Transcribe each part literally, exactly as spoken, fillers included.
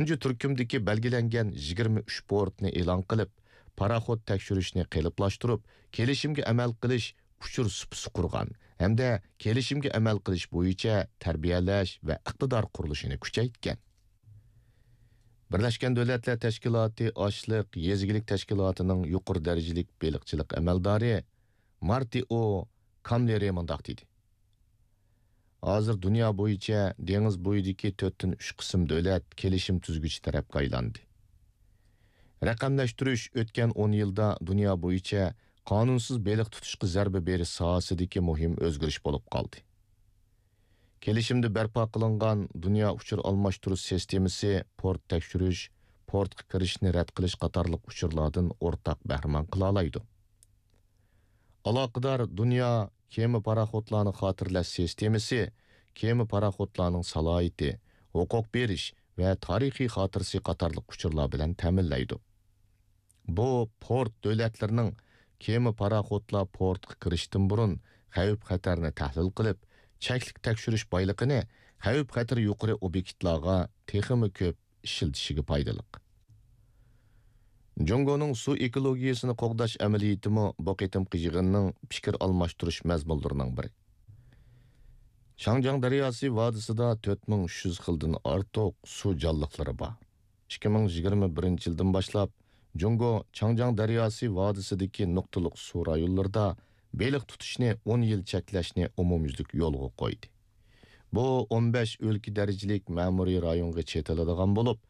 تۇنجى تۈركۈمدىكى بەلگىلەنگەن يىگىرمە ئۈچ پورتنى ئېلان قىلىپ، پاراخوت تەكشۈرۈشنى قېلىپلاشتۇرۇپ، كېلىشىمگە ئەمەل قىلىش ئۇچۇر سۇپىسى قۇرغان ھەمدە كېلىشىمگە ئەمەل قىلىش بويىچە تەربىيەلەش ۋە ئىقتىدار قۇرۇلۇشىنى كۈچەيتكەن. بىرلەشكەن دۆلەتلەر تەشكىلاتى ئاشلىق، يېزا ئىگىلىك تەشكىلاتىنىڭ يۇقىرى دەرىجىلىك بېلىقچىلىق ئەمەلدارى مارتىئو كاملېرى مۇنداق دېدى: ھازىر دۇنيا بويىچە دېڭىز بويىدىكى تۆتتىن ئۈچ قىسىم دۆلەت كېلىشىم تۈزگۈچى تەرەپكە ئايلاندى. رەقەملەشتۈرۈش ئۆتكەن ئون يىلدا دۇنيا بويىچە قانۇنسىز بېلىق تۇتۇشقا زەربە بېرىش ساھەسىدىكى مۇھىم ئۆزگىرىش بولۇپ قالدى. كېلىشىمدە بەرپا قىلىنغان دۇنيا ئۇچۇر ئالماشتۇرۇش سىستېمىسى پورت تەكشۈرۈش، پورتقا كىرىشنى رەت قىلىش قاتارلىق ئۇچۇرلاردىن ئورتاق بەھرىمەن قىلالايدۇ. ئالاقىدار دۇنيا كېمە پاراخوتلارنى خاتىرىلەش سىستېمىسى كېمە پاراخوتلارنىڭ سالاھىيىتى، ھوقۇق بېرىش ۋە تارىخىي خاتىرىسى قاتارلىق ئۇچۇرلار بىلەن تەمىنلەيدۇ. بۇ پورت دۆلەتلىرىنىڭ كېمە پاراخوتلار پورتقا كىرىشتىن بۇرۇن خەۋپ-خەتەرنى تەھلىل قىلىپ، چەكلىك تەكشۈرۈش بايلىقىنى خەۋپ-خەتىرى يۇقىرى ئوبيېكتلارغا تېخىمۇ كۆپ ئىشلىتىشىگە پايدىلىق. جۇڭگونىڭ سۇ ئېكولوگىيەسىنى قوغداش ئەمەلىيىتىمۇ بۇ قېتىمقى يىغىننىڭ پىكىر ئالماشتۇرۇش مەزمۇنلىرىنىڭ بىرى. شاڭجياڭ دەرياسى ۋادىسىدا تۆت مىڭ ئۈچ يۈز خىلدىن ئارتۇق سۇ جانلىقلىرى بار. ئىككى مىڭ يىگىرمە بىرىنچى يىلدىن باشلاپ، جۇڭگو چاڭجياڭ دەرياسى ۋادىسىدىكى نۇقتىلىق سۇ رايونلىرىدا بېلىق تۇتۇشنى ئون يىل چەكلەشنى ئومۇميۈزلۈك يولغا قويدى. بۇ ئون بەش ئۆلكە دەرىجىلىك مەمۇرىي رايونغا چېتىلىدىغان بولۇپ،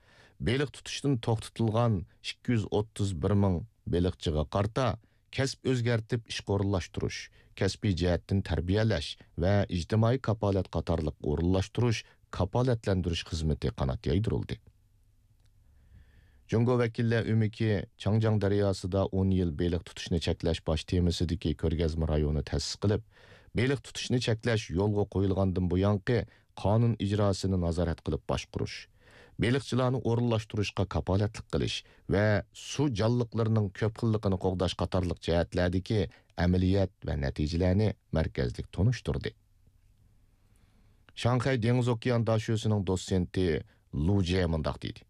بېلىق تۇتۇشتىن توختىتىلغان ئىككى يۈز ئوتتۇز بىر مىڭ بېلىقچىغا قارىتا كەسىپ ئۆزگەرتىپ ئىشقا ئورۇنلاشتۇرۇش، كەسپىي جەھەتتىن تەربىيەلەش ۋە ئىجتىمائىي كاپالەت قاتارلىق ئورۇنلاشتۇرۇش، كاپالەتلەندۈرۈش خىزمىتى قانات يايدۇرۇلدى. جۇڭگو ۋەكىللەر ئۆمىكى چاڭجياڭ دەرياسىدا ئون يىل بېلىق تۇتۇشنى چەكلەش باش تېمىسىدىكى كۆرگەزمە رايونى تەسىس قىلىپ، بېلىق تۇتۇشنى چەكلەش يولغا قويۇلغاندىن بۇيانقى قانۇن ئىجراسىنى نازارەت قىلىپ باشقۇرۇش، بېلىقچىلارنى ئورۇنلاشتۇرۇشقا كاپالەتلىك قىلىش ۋە سۇ جانلىقلىرىنىڭ كۆپ خىللىقىنى قوغداش قاتارلىق جەھەتلەردىكى ئەمەلىيەت ۋە نەتىجىلەرنى مەركەزلىك تونۇشتۇردى. شاڭخەي دېڭىز ئوكيان داشۆسىنىڭ دوتسېنتى لۇ جيې مۇنداق دېدى: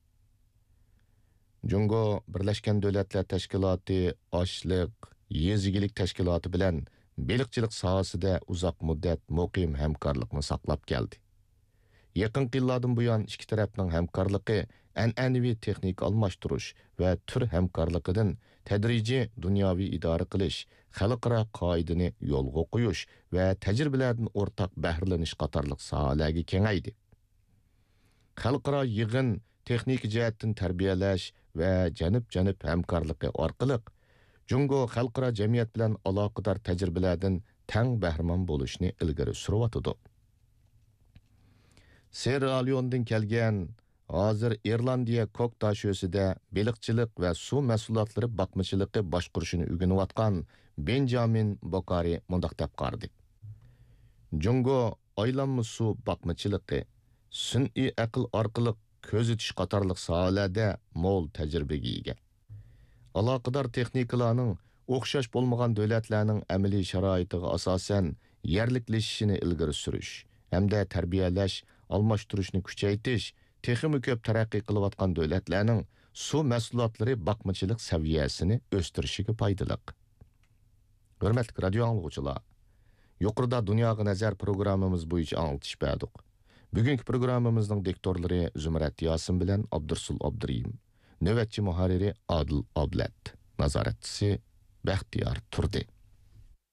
جۇڭگو بىرلەشكەن دۆلەتلەر تەشكىلاتى ئاشلىق، يېزا ئىگىلىك تەشكىلاتى بىلەن بېلىقچىلىق ساھەسىدە ئۇزاق مۇددەت مۇقىم ھەمكارلىقنى ساقلاپ كەلدى. يېقىنقى يىللاردىن بۇيان، ئىككى تەرەپنىڭ ھەمكارلىقى ئەنئەنىۋى تېخنىكا ئالماشتۇرۇش ۋە تۈر ھەمكارلىقىدىن تەدرىجىي دۇنياۋى ئىدارە قىلىش، خەلقئارا قائىدىنى يولغا قويۇش ۋە تەجرىبىلەردىن ئورتاق بەھرىلىنىش قاتارلىق ساھەلەرگە كېڭەيدى. خەلقئارا يىغىن، تېخنىكا جەھەتتىن تەربىيەلەش ۋە جانىپ-جانىپ ھەمكارلىقى ئارقىلىق، جۇڭگو خەلقئارا جەمئىيەت بىلەن ئالاقىدار تەجرىبىلەردىن تەڭ بەھرىمەن بولۇشنى ئىلگىرى سۈرۈۋاتىدۇ. سېررا لېئوندىن كەلگەن، ھازىر ئىرلاندىيە كوك داشۆسىدە بېلىقچىلىق ۋە سۇ مەھسۇلاتلىرى باقمىچىلىقى باشقۇرۇشنى ئۆگىنىۋاتقان بېنجامىن بوكارى مۇنداق دەپ قارىدى: جۇڭگو ئايلانما سۇ باقمىچىلىقى، سۈنئىي ئەقىل ئارقىلىق كۆزىتىش قاتارلىق ساھەلەردە مول تەجرىبىگە ئىگە. ئالاقىدار تېخنىكىلارنىڭ ئوخشاش بولمىغان دۆلەتلەرنىڭ ئەمەلىي شارائىتىغا ئاساسەن يەرلىكلىشىشىنى ئىلگىرى سۈرۈش ھەمدە تەربىيەلەش، ئالماشتۇرۇشنى كۈچەيتىش تېخىمۇ كۆپ تەرەققىي قىلىۋاتقان دۆلەتلەرنىڭ سۇ مەھسۇلاتلىرى باقمىچىلىق سەۋىيەسىنى ئۆستۈرۈشىگە پايدىلىق. ھۆرمەتلىك رادىيو ئاڭلىغۇچىلار، يۇقىرىدا دۇنياغا نەزەر پروگراممىمىز بويىچە ئاڭلىتىش بەردۇق. بۈگۈنكى پروگراممىمىزنىڭ دىكتورلىرى زۇمرەت ياسىن بىلەن ئابدۇرۇسۇل ئابدۇرېھىم. نۆۋەتچى مۇھەررىرى ئادىل ئابلەت. نازارەتچىسى بەختىيار تۇردى.